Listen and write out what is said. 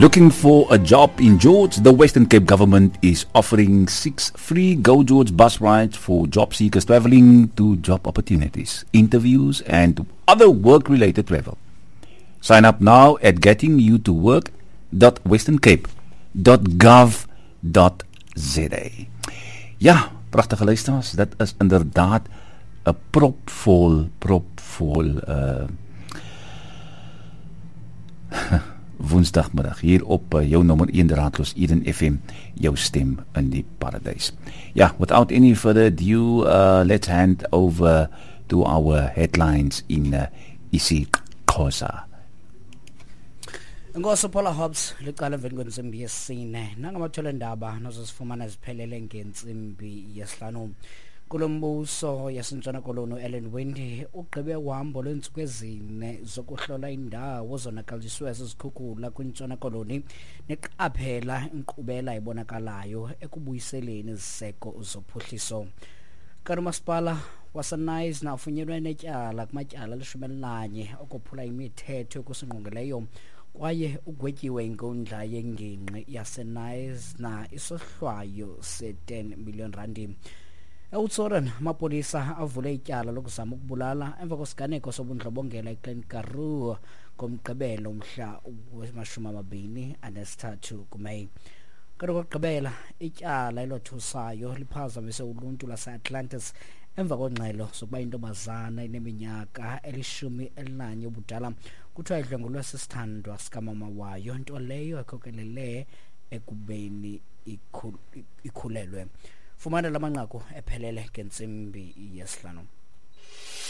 Looking for a job in George? The Western Cape government is offering 6 free Go George bus rides for job seekers traveling to job opportunities, interviews, and other work-related travel. Sign up now at gettingyoutowork.westerncape.gov.za. Ja, pragtige luisteraars, dit is inderdaad 'n propvol woensdagmiddag hier op jou nommer 1 draadloos Eden FM, jou stem in die paradys. Ja, without any further ado, let's hand over to our headlines in isiXhosa. Enkosi Paula Hobbs, liqala emveni kwentsimbi yesine. Nangamathole ndaba nozozifumana ziphelele ngentsimbi yesihlanu. Kulombuso yaseNtshona Koloni Ellen Wendy ugqibe uhambo lweentsuku ezine zokuhlola indawo zonakaliswe zizikhukhula kwiNtshona Koloni neqaphela inkqubela ebonakalayo ekubuyiseleni iziseko zophuhliso. Kanti umasipala waseNyasna ufunyenwe netyala kumatyala 11 okophula imithetho yokusingqongileyo kwaye ugwetyiwe inkundla yengingqi yaseNyasna isohlwayo se-10 million randi. EOudtshoorn amapolisa avule ityala lokuzama ukubulala emva kwesiganeko sobundlobongela eKlein Karoo ngomgqibelo umhla we-23 kuMeyi. Kanti okokugqibela ityala elothusayo liphazamise uluntu lwaseAtlantis emva kwengxelo zokuba intombazana eneminyaka 11 ubudala kuthiwa idlwengulwe sisithandwa sikamama wayo, nto leyo ekhokelele ekubeni ikhulelwe. Fumana la manqaku ephelele ngentsimbi yesihlanu.